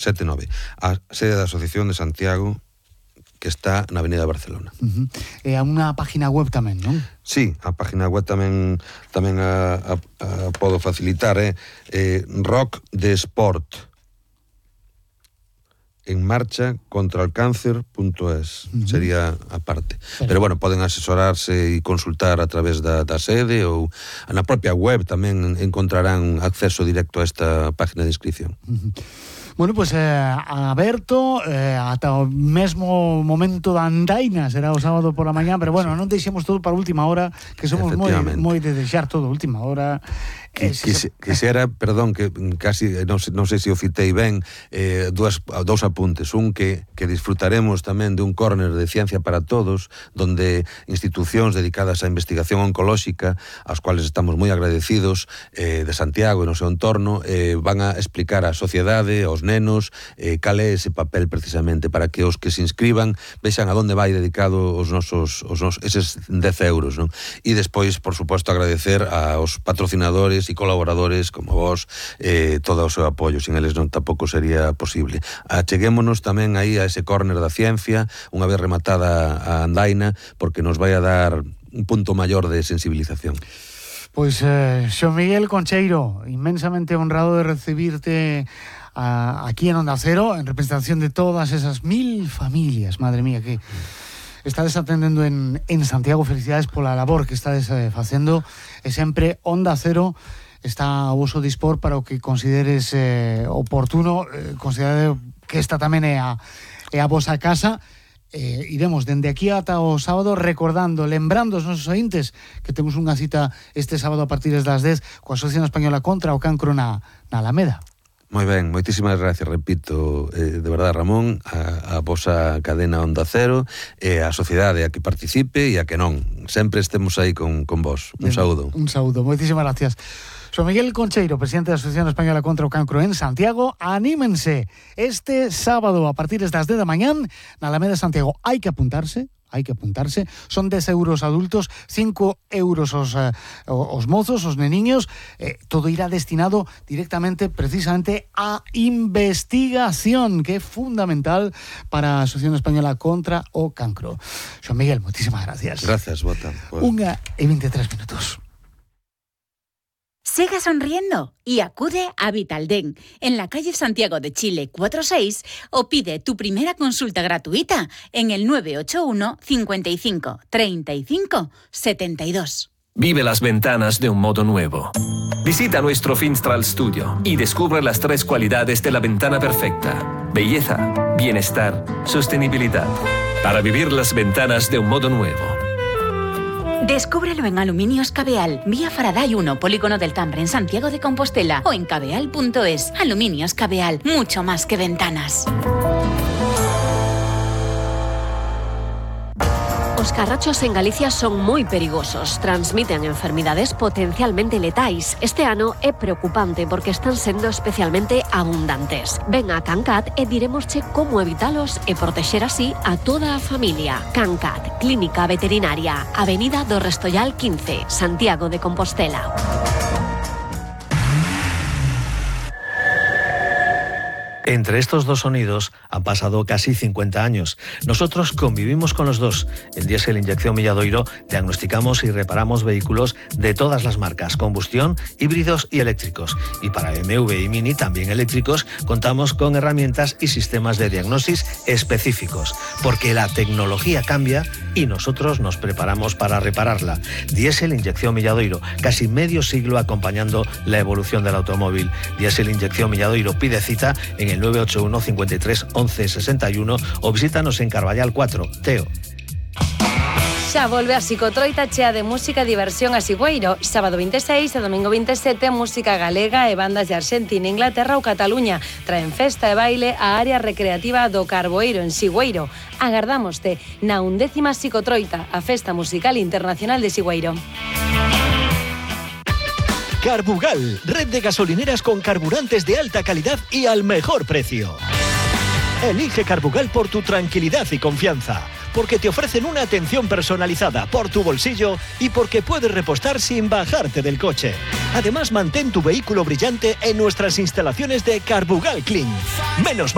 79. A sede da Asociación de Santiago, que está na Avenida Barcelona. E a unha página web tamén, non? Sí, a página web tamén a podo facilitar, Rock de Sport en marcha contra el cáncer.es sería a parte. Pero bueno, poden asesorarse e consultar a través da sede ou na propia web tamén encontrarán acceso directo a esta página de inscripción. Bueno, pues aberto ata o mesmo momento da andaina, será o sábado por la mañá, pero bueno, non deixemos todo para a última hora, que somos moi de deixar todo a última hora. Quixera, perdón, que casi non sei se o citei ben, dous apuntes. Un, que disfrutaremos tamén de un córner de Ciencia para Todos, donde institucións dedicadas á investigación oncolóxica, aos cuales estamos moi agradecidos, de Santiago e no seu entorno, van a explicar á sociedade, aos nenos, cal é ese papel precisamente, para que os que se inscriban vexan a donde vai dedicado eses 10 euros, non? E despois, por suposto, agradecer aos patrocinadores e colaboradores como vos, todo o seu apoio. Sin eles non tampouco sería posible. Acheguémonos tamén aí a ese córner da ciencia, unha vez rematada a andaina, porque nos vai a dar un punto maior de sensibilización. Pois, Xo Miguel Concheiro, inmensamente honrado de recibirte aquí en Onda Cero, en representación de todas esas 1000 familias, madre mía, que estades atendendo en Santiago. Felicidades pola labor que estades facendo, e sempre Onda Cero está a voso dispor para o que consideres oportuno. Considerade que esta tamén é a vosa casa. Iremos dende aquí ata o sábado lembrando os nosos ointes que temos unha cita este sábado a partir das 10 coa Asociación Española contra o Cancro na Alameda. Moi ben, moitísimas gracias, repito, de verdade, Ramón, a vosa cadena Onda Cero, a sociedade a que participe e a que non. Sempre estemos aí con vos. Un saúdo. Un saúdo, moitísimas gracias. Xo Miguel Concheiro, presidente da Asociación Española contra o Cancro en Santiago. Anímense este sábado a partir das 10 da mañán na Alameda de Santiago. Hai que apuntarse. Son 10 euros adultos, 5 euros os mozos, os neniños. Todo irá destinado directamente, precisamente, a investigación, que é fundamental para a Asociación Española contra o Cancro. Xoan Miguel, moitísimas gracias. Gracias, Bota. 1:23. Siga sonriendo y acude a Vitaldent en la calle Santiago de Chile 46 o pide tu primera consulta gratuita en el 981 55 35 72. Vive las ventanas de un modo nuevo. Visita nuestro Finstral Studio y descubre las 3 cualidades de la ventana perfecta: belleza, bienestar, sostenibilidad. Para vivir las ventanas de un modo nuevo. Descúbrelo en Aluminios Cabeal, vía Faraday 1, Polígono del Tambre, en Santiago de Compostela, o en cabeal.es. Aluminios Cabeal, mucho más que ventanas. Os carrachos en Galicia son moi perigosos, transmiten enfermidades potencialmente letais. Este ano é preocupante porque están sendo especialmente abundantes. Ven a Cancat e diremosche como evitalos e protexer así a toda a familia. Cancat, Clínica Veterinaria, Avenida do Restollal 15, Santiago de Compostela. Entre estos dos sonidos han pasado casi 50 años. Nosotros convivimos con los dos. En Diesel Inyección Milladoiro diagnosticamos y reparamos vehículos de todas las marcas, combustión, híbridos y eléctricos. Y para BMW y Mini, también eléctricos, contamos con herramientas y sistemas de diagnosis específicos. Porque la tecnología cambia y nosotros nos preparamos para repararla. Diesel Inyección Milladoiro, casi medio siglo acompañando la evolución del automóvil. Diesel Inyección Milladoiro, pide cita en el 981 53 11 61 o visítanos en Carballal 4, Teo. Xa volve a Psicotroita chea de música e diversión a Sigüeiro. Sábado 26 e domingo 27, música galega e bandas de Argentina, Inglaterra ou Cataluña. Traen festa e baile a área recreativa do Carboeiro en Sigüeiro. Agardámoste na 11ª Psicotroita, a festa musical internacional de Sigüeiro. Carbugal, red de gasolineras con carburantes de alta calidad y al mejor precio. Elige Carbugal por tu tranquilidad y confianza. porque te ofrecen una atención personalizada por tu bolsillo y porque puedes repostar sin bajarte del coche. Además, mantén tu vehículo brillante en nuestras instalaciones de Carbugal Clean. Menos